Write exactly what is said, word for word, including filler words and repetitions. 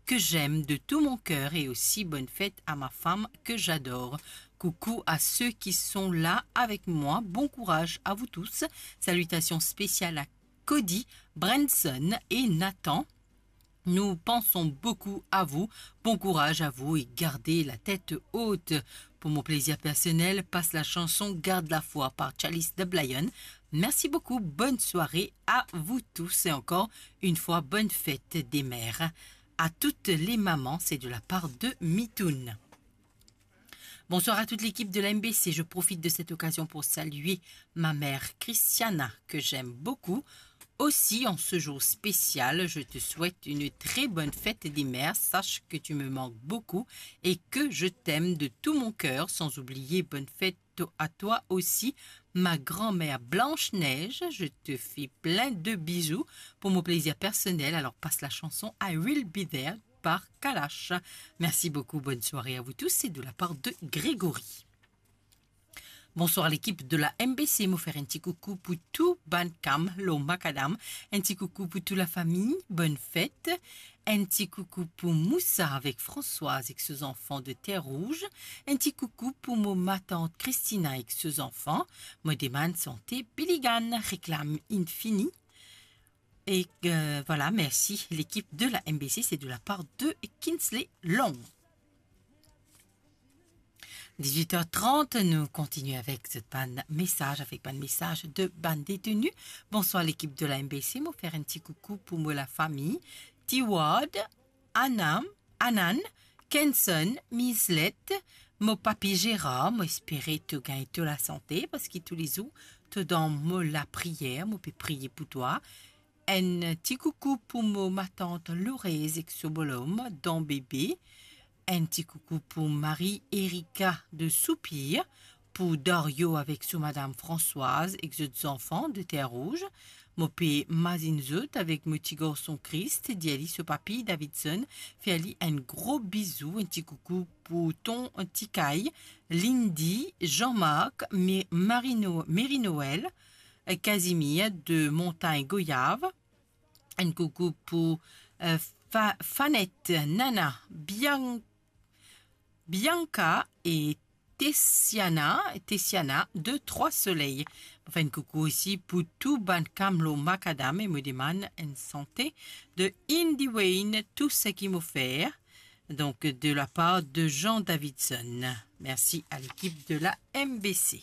que j'aime de tout mon cœur et aussi bonne fête à ma femme que j'adore. Coucou à ceux qui sont là avec moi, bon courage à vous tous. Salutations spéciales à Cody, Branson et Nathan. Nous pensons beaucoup à vous. Bon courage à vous et gardez la tête haute. Pour mon plaisir personnel, passe la chanson Garde la foi par Chalice de Blayon. Merci beaucoup, bonne soirée à vous tous et encore une fois, bonne fête des mères. À toutes les mamans, c'est de la part de Mitoun. Bonsoir à toute l'équipe de la M B C. Je profite de cette occasion pour saluer ma mère Christiana, que j'aime beaucoup. Aussi, en ce jour spécial, je te souhaite une très bonne fête des mères. Sache que tu me manques beaucoup et que je t'aime de tout mon cœur, sans oublier bonne fête à toi aussi, ma grand-mère Blanche-Neige. Je te fais plein de bisous pour mon plaisir personnel. Alors passe la chanson I Will Be There par Kalash. Merci beaucoup, bonne soirée à vous tous, c'est de la part de Grégory. Bonsoir l'équipe de la M B C, mo fer enn ti koukou pou tou bann kam lor makadam, enn ti koukou pou tou lafami, bonne fête, enn ti koukou pou Moussa avek Françoise ek so zanfan de Terre Rouge, enn ti koukou pou mo matant Christina ek so zanfan, mo demann sante Billy Gann, reklam inn fini. Et euh, voilà, merci l'équipe de la M B C, c'est de la part de Kinsley Long. Dix-huit heures trente, nous continuons avec cette bann message, avec bann message de bann détenu. Bonsoir l'équipe de la M B C, mo fer enn ti koukou pou mo lafami, Tiward, Anam, Anan, Kenson, Mislet, mo papi Gérard, mo espere to gagn to lasante, parski toulezour to dan mo lapriyer, mo pe priye pou twa. Enn ti koukou pou mo matant Lourez ek so bolom, Don Bébé. Enn ti koukou pou Marie Erika de Soupir, pou Dario avek so madam Françoise ek zot zanfan de Terre Rouge. Mo pe mazinn zot avek mo ti garson Christ, dir li so papi Davidson fer li enn gro bizou, enn ti koukou pou ton Tikay, Lindy, Jean-Marc, Mi-, Marino, Marie Noël, Casimir de Montagne Goyave, enn koukou pou, euh, Fa-, Fanette, Nana, Bian-, Bianca e Tessiana, Tessiana de Trois Soleils. Mo fer enn koukou osi pou tou bann kam lor makadam e mo demann enn sante de Indy Wayne, Tout ce qui m'offert, donc de la part de Jean Davidson. Merci à l'équipe de la M B C.